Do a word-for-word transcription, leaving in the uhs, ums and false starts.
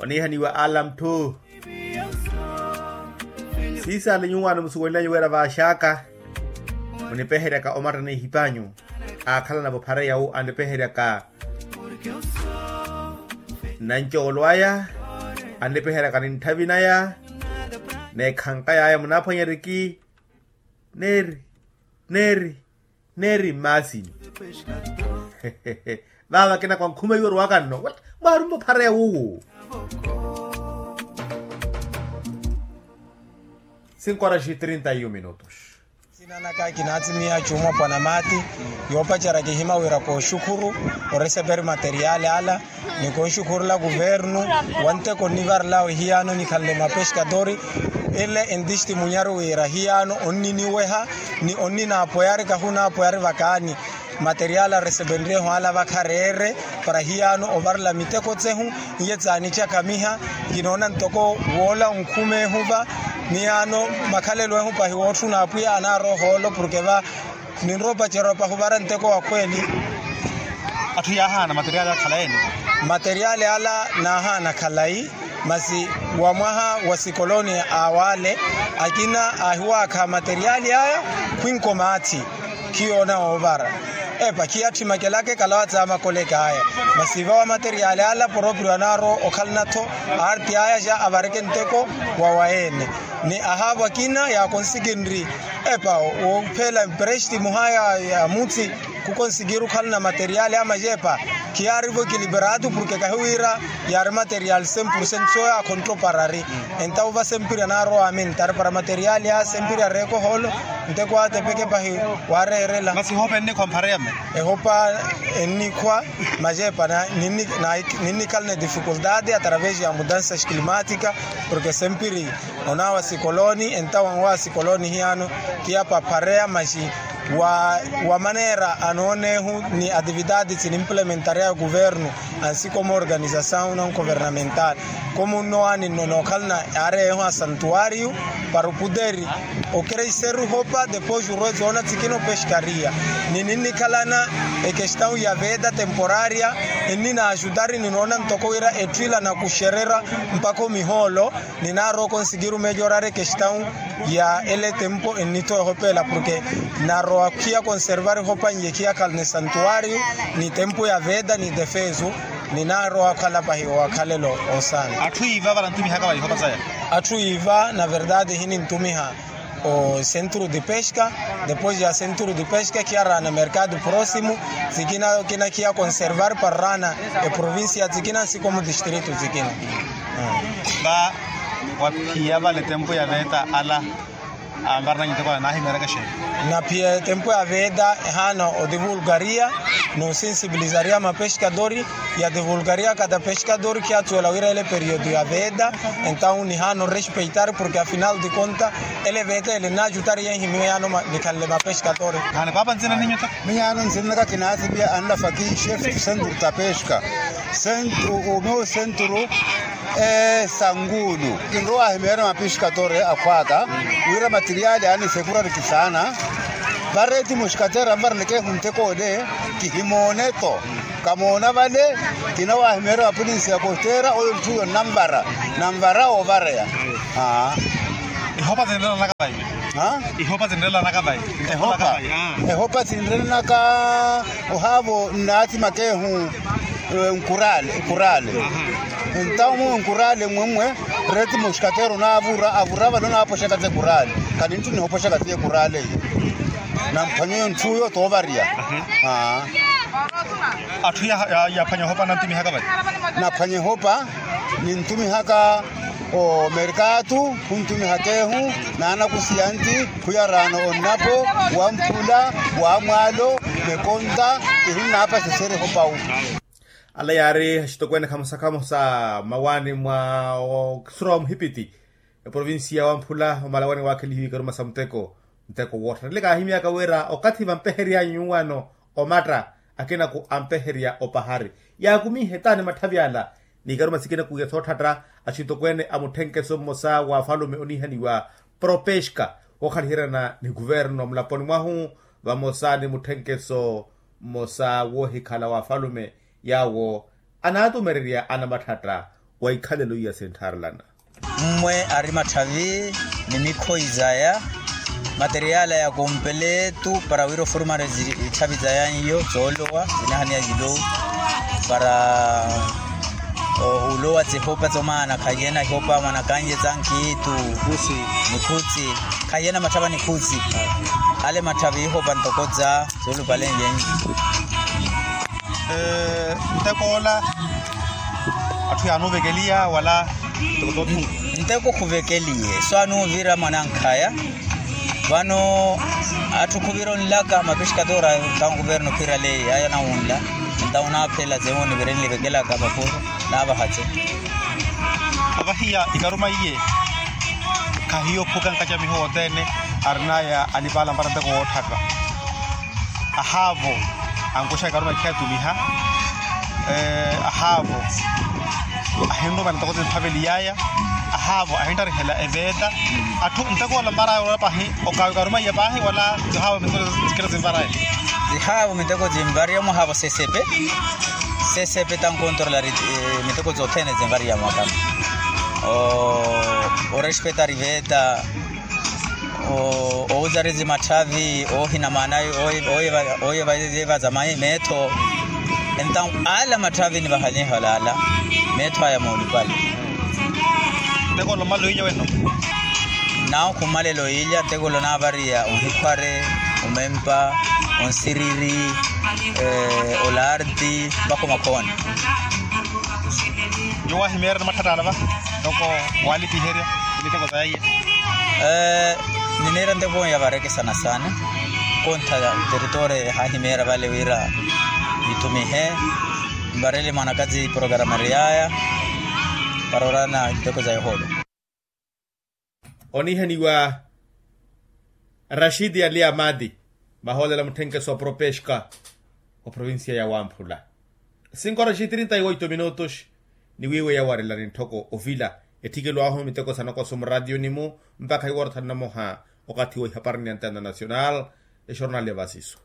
Oniihaniwa ala muthu. Siisale nyuwaano musuwenlanyu wira vaaxaka munipeheryaka omatta n'ehipanyu aakhalana-vo phare yawu annipeheryaka nancoolo aya annipeheryaka nintthavi naya n'ekhanka yaya munaaphwanyeriki neeri neeri neeri mmaasini. Vaava kinakwa nkhuma iwo orwaka nno mwaarumma ophareya wuwo. Cinco horas e trinta e um minutos. Sinanaka kinaatimiya cuuma pwanamati yoopacerya kihima wira kooxukhuru oreseperi materiali ala ni konxukhurula kuvernu wa nteko nnivarelawe hiyaano nikhanle mapexkatori. Ele entistimunyaru wira hiyaano onniniweha ni onninaapoyari kahunaapoyari vakaani materiali aresepenryeho ala vakhareere para hiyaano ovarela miteko tsehu. Iye tsaanicakhamiha kinoona ntoko woola onkhumeehu va miyaano makhalelo ehu pahi wootthuna apwiya anaara ohoolo porke va ninrowa opacerya opahuvara nteko wa khweeli. Atthu yaahaana materiali akhala ene? Materiali ala naahaana khalayi masi wa mwaha wa sikoloni awale akina aahiwaakha materiali aya khwinko maathi khiyoona oovara epa khiyatthi makelake kalawa tsaamakoleke aya. Masi va wa materiali ala poroprio anaaro okhalana-tho aarti aya ja avareke nteko wa wayeene ni ahaavo akina yaakonsikinri epa woophela emprestimu haya ya mutsi khukonsikiru okhalana materiali ama jeepa khiyaarivo ekiliperatu porke kahiwira yaari materiali cem porcento sooyaakhontto parari. Entawo va sempiri anaarowa amintari para materiali a sempiri areeke ohoolo nteko atepeke pahi waareerela. Masi ehopa ennikhwa mphareya mme? Ehopa ennikhwa majeepa ninnikhalana edifikultati atravesi ya mudansa climatika porke sempiri onaawa sikoloni entawo anwaawa sikoloni hiyaano khiyapa phareya maxi wa maneera anooneehu ni atividati tinimplementarya ya kuvernu ansi komu organisasawu non governamental komu nnowaani nno nookhalana aareyeehu asantuwariyu para oputeri okereiseru hopa depois orwe zoona tsikina opexkariya ni ninnikhalana ekestawu ya veda temporarya enninaaxutari ninoona ntoko wira etthu ila nakuxererya mpakha omihoolo. Ninaarowa okonsikiru meejo orari ekestawu ya ele tempo ennitho ehopa ela porke narowa khiya konservari hopa nyi khiyakhalana esantuwariyu ni tempo ya veda ni defesu. Ninaarowa okhala pahi owakhalelo osaana. Atthu iiva vanantumihaka vaihopa saya? Atthu iiva na verdade hinintumiha o centro de pesca. Depois ya centro de pesca khiyaraana mercado proximo tsikina kina khiya conservar para raana eprovincia tsikina nsi komu distrito tsikina. Va waphiya vale tempo ya veta ala anvarananyi nteko ala naahimeeryaka xeeni? Naphiya tempo ya veta ehaana odivulgaria noosensibilizaria mapescadori ya divulgaria kada pescador khiyatsuwela wira ele periodo ya veta. Entawu nihaana orespeitar porke afinal de conta ele veta ele nnaacutari yenhimiwe yaano nikhanle mapescador. Miyaano nsinanaka kinaatimiya anlafaki chef tu centro ta pesca. Centro o meu centro e sangulu kinrowa ahimeera mapescador akhwaka wira materiali aani sekurari kisaana. Vareti muxkatera mvaraneke ehuntekoole kihimooneto. Kamoona vale kinawahimeerya wa polinsi ya kostera oyo nthuyo nnanvara nanvara oovareya. Ehopa zinrelanaka vayi? Ehopa zinrelanaka vayi? Ehopa zinrelanaka ohaavo nnaathimakeehu nkurale nkurale. Entawo mwe nkurale mmwe mmwe reti muxkatero naavura avura vale onaapoxaka se kurale. Kani nthu nihopoxaka siye kurale iyo. Namphwanyeyo nthuyo toovarya. Atthu yaaphwanya ohopa nantumihaka vale? Naphwanya ehopa nintumihaka omerkatu khuntumihaka ehu naanakusiya nti khuyaraana onnapo wamphula wamwaalo mekonta. Kihinnaapaseseri ehopa wu. Ala yaari axitokweene khamosa khamosa mmawaani mwa osura wa muhipiti eprovinsiya wamphula omalawaani waakhelihiwa ikaruma sa muteko. Muteko wootthana ile kaahimyaka wira okathi vampehery'anyu nyuwaano omatta akinaku ampeherya opahari yaakumihe taani matthavi ala n'ikaruma sikinaku ya sootthatta. Axitokweene a mutthenkeso mmosa wa afalume oniihaniwa propeska wookhaliheryana ni kuverno mulaponi mwahu vamosa ni mutthenkeso mmosa woohikhala wa afalume yaawo anaatumererya anamatthatta Wa ikhalelo iya sinthaarelana. Mmwe ari matthavi ni mikhoyi zaya, materiala ya kompeletu para wira ofurumari itthavi zaya iyo zoolowa zinahaniya yilowu, para olowa tsihopa tsomaana khayi ena ihopa mwanakanye tsa nkhiitu, nikhutsi, khayi ena matthava nikhutsi. Ale matthavi ihopa ntoko tsa soolupalenlyenyi. Ntekoola atthu yaanuvekeliya wala? Nteko khuvekeliye so anuuvira mwanankhaya. Vano atthu khuvira onlaka mapixikatora, tankuverno khiraleyi aya nawunla. Ntawo naaphela zewo nivirenle vekelaka vapuro naavahatse. Avahiya ikaruma iye khahiyo phuka nkacamiho wothene arinaya anipala mpara nteko wootthaka. Ahaavo ankuxa ikaruma ikhiyatumiha. Ahaavo ahinruma nitoko zinphaveliyaya. Ahaavo ahintarihela eveeta. Atthu nteko ola mvaraya olola pahi okawi karuma iya pahi wala? Zihaavo miteko zikira zimvaraya. Zihaavo miteko zimvariya mwahaavo sesepe. Sesepe tankontorolari miteko zothene zimvariya mwakano. Orespetari veeta. Owuzarezi matthavi oohina maana. Ooyevaza meetho. Entawu ala matthavi nivahanyeho alaala meetho aya moolupale. Ntekolo mmalelo iilya wenno. Nawo khummalelo iilya ntekolo naavariya onhikhware, omempa, onsiriri, olarti mpakha omakhoona. Nyuwo ahimeerya ni matthattaala va ntoko walipiherya miteko zaya. Nineera nteko ya varekesana saana. Kontha teritoori ehaahimeerya vale wira nitumihe mvarele mwanakazi programari yaya para orana nteko za yohoolo. Onihaniwa rashidi ali amadi vahoolela mutthenkeso wa propeshka oprovincia ya wamphula. Sinkora xi trinta y oito minutos. Niwiiwe yawarela nintthoko ovila etthikelo ahu miteko sanakoso muraatiyoni-mu mpakha iworothani namoha. Okathi wa ihapari ni antena nacional exornal ya vasiso.